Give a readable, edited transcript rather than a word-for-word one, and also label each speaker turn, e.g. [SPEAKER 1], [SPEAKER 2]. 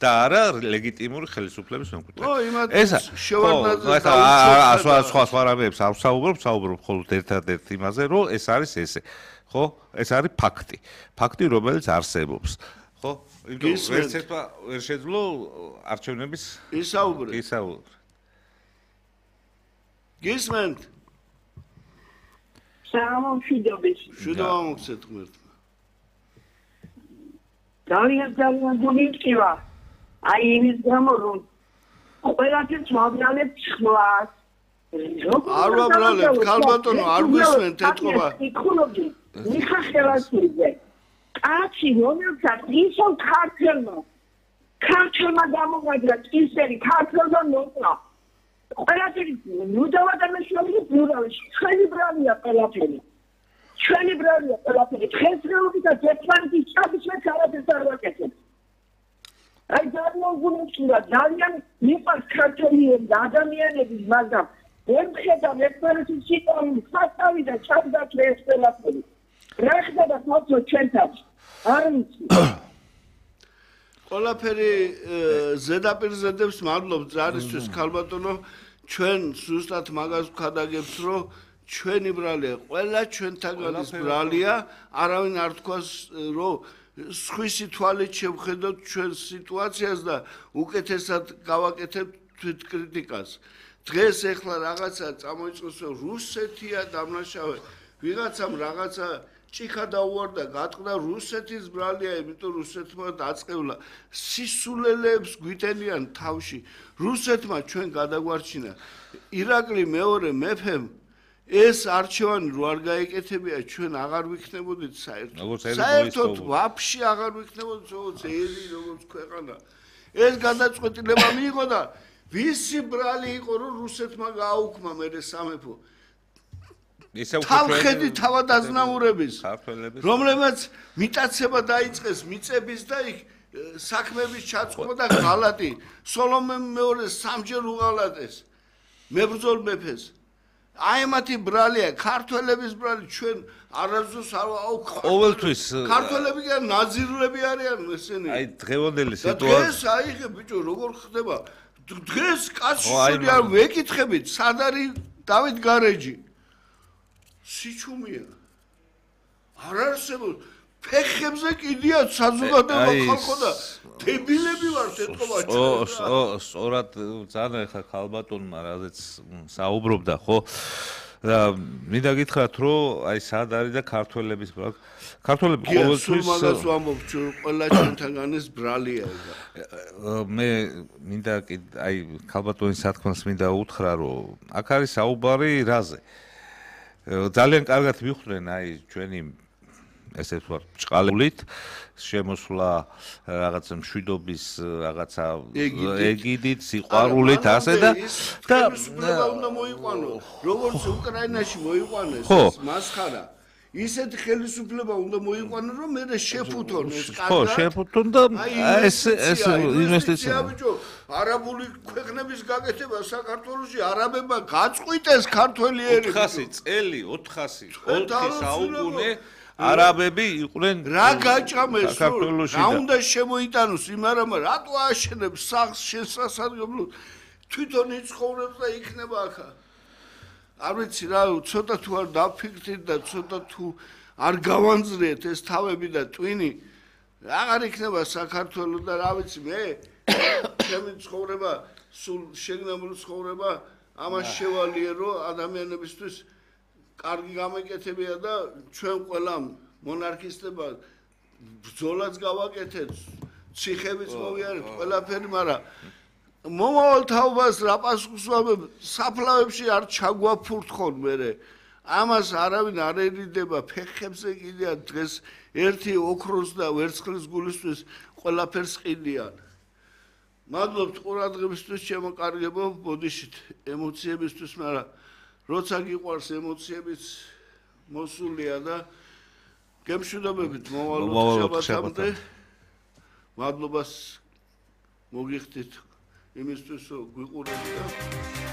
[SPEAKER 1] და არა ლეგიტიმური ხელისუფლების მემკვიდრე.
[SPEAKER 2] ესა
[SPEAKER 1] სხვა რამეებს არ ვსაუბრობ, ვსაუბრობ მხოლოდ ერთადერთ იმაზე, რომ ეს არის ესე. ხო? ეს არის ფაქტი. ფაქტი, რომელიც არსებობს. ხო? ვერც ერთმა ვერ შეძლო არჩევნების
[SPEAKER 2] ისაუბრე. გისმენთ? შუდობა მოგცეთ ღმერთმა.
[SPEAKER 3] ძალიან გულიწივა. აი იმის გამო რომ ყველაფერს ვაბრალებ ცხლას.
[SPEAKER 2] არ ვაბრალებ, ქალბატონო, არ გვისმენთ ეთყობა.
[SPEAKER 3] იქულობდი, მიხახელასიძე. კაცი რომელსაც ისო ქართველმა გამოგაძრა წისერი ქართველმა ნოტა. ყველაფერი ნუდავა და მეშოვი ბურავი, ჩვენი ბრალია ყველაფერი. დღესდღეობით და ერთმანეთის ჩაბის მე არაფერს არ ვაკეთებ. აი ძალიან გულწრფელია, ძალიან მიყვარს ქართველები და ადამიანები, მაგრამ ვერ მხედავ ერთმანეთის სიტყვით სასწავი და ჩაბდაჭრე ეს ყველაფერი. რა ხდება თვითონ ჩვენთან? არ ვიცი.
[SPEAKER 2] ყველაფერი ზედაპირზე დებს მადლობ ზარისთვის ქალბატონო, ჩვენ ზუსტად მაგას ვქადაგებთ, რომ ჩვენი ბრალია, ყველა ჩვენთაგანის ბრალია, არავინ არ თქვას, რომ სხვისი თვალით შევხედოთ ჩვენ სიტუაციას და უკეთესად გავაკეთებთ თვითკრიტიკას. დღეს ეხლა რაღაცა წამოიწყოს, რომ რუსეთია დამნაშავე, ვიღაცამ რაღაცა ჭიქა დაუვარდა, გატყდა რუსეთის ბრალია, იმიტომ რუსეთმა დაწყევლა. სისულელეებს გვიტენიან თავში. რუსეთმა ჩვენ გადაგვარჩინა. ირაკლი მეორე მეფემ ეს არჩევანი რო არ გაეკეთებია, ჩვენ აღარ ვიქნებოდით საერთოდ. საერთოდ ვაფშე აღარ ვიქნებოდით, როგორც ელი, როგორც ქვეყანა. ეს გადაწყვეტილება მიიღო და ვისი ბრალი იყო, რომ რუსეთმა გააუქმა მერე სამეფო. თავხედი თავადაზნაურების, რომლებაც მიტაცება დაიწყეს მიწების და იქ საქმების ჩაწყობა და ღალატი. სოლომე მეორე სამჯერ უღალატეს მებრძოლ მეფეს. აი მათი ბრალია, ქართველების ბრალი ჩვენ არასდროს არ აუქმა.
[SPEAKER 1] ყოველთვის
[SPEAKER 2] ქართველები კი ნაზირულები არიან ესენი.
[SPEAKER 1] აი დღევანდელი სიტუაცია.
[SPEAKER 2] დღეს აიღე ბიჭო, როგორ ხდება? დღეს კაცშვილი არ ვეკითხებით, სად არის დავით გარეჯი? სიჩუმია. არ არსებობს. ფეხებზე კიდია საზოგადოება ხალხო და დებილები ვართ ეთყობა ჩვენ.
[SPEAKER 1] სწორად ძალიან ხა ქალბატონმა რაზეც საუბრობდა, ხო? და მინდა გითხრათ, რომ აი სად არის და ქართველების ქართველები ყოველთვის
[SPEAKER 2] მაგას ვამბობ, ყველა ჩვენთაგანის ბრალია ეგა.
[SPEAKER 1] მე მინდა აი ქალბატონის სათქმას მინდა უთხრა, რომ აქ არის საუბარი რაზე. ძალიან კარგად მიხვდნენ აი ჩვენი ესე ვთქვათ, ჭყალებით შემოსვლა რაღაცა მშვიდობის რაღაცა ეგიდით, სიყვარულით ასე და
[SPEAKER 2] უნდა მოიყვანო, როგორც უკრაინაში მოიყვანეს მასხარა. ისეთ ხელისუფლება უნდა მოიყვანო, რომ მე შეფუთონ ეს კადრა.
[SPEAKER 1] ხო, შეფუთონ და ეს ინვესტიცია.
[SPEAKER 2] არაბული ქვეყნების გაკეთება საქართველოში არაბებმა გაწყვიტეს ქართველი ერი.
[SPEAKER 1] 400 წელი, 400 საუკუნე არაბები იყვნენ
[SPEAKER 2] რა გაჭამეს რა უნდა შემოიტანოს იმ არაბმა რატო აშენებს სახლს შესასარგებლოდ თვითონ იცხოვრებს და იქნება ახლა არ ვიცი რა ცოტა თუ არ დაფიქრდით და ცოტა თუ არ გავანძრიეთ ეს თავები და ტვინი აღარ იქნება საქართველოს და რა ვიცი მე ჩემი ცხოვრება სულ შეგნებული ცხოვრება ამას შევალიე რომ ადამიანებისთვის კარგი გამეკეთებია და ჩვენ ყველა მონარქისტება ბრძოლაც გავაკეთეთ, ციხებიც მოვიარეთ, ყველაფერი, მაგრამ მომავალ თაობას რა პასუხს ვამებ, საფლავებში არ ჩაგვაფურთხონ მერე. ამას არავინ არ ერიდება, ფეხებზე კიდია დღეს ერთი ოქროს და ვერცხლის გულისთვის ყველაფერს ყიდიან. მადლობთ ყურადღებისთვის, ჩემო კარგებო, ბოდიშით ემოციებისთვის, მაგრამ როცა გიყვარს ემოციებიც მოსულია და გემშვიდობებით მოვალ შაბათამდე მადლობას მოგიხდით იმისთვის რომ გვიყურებთ და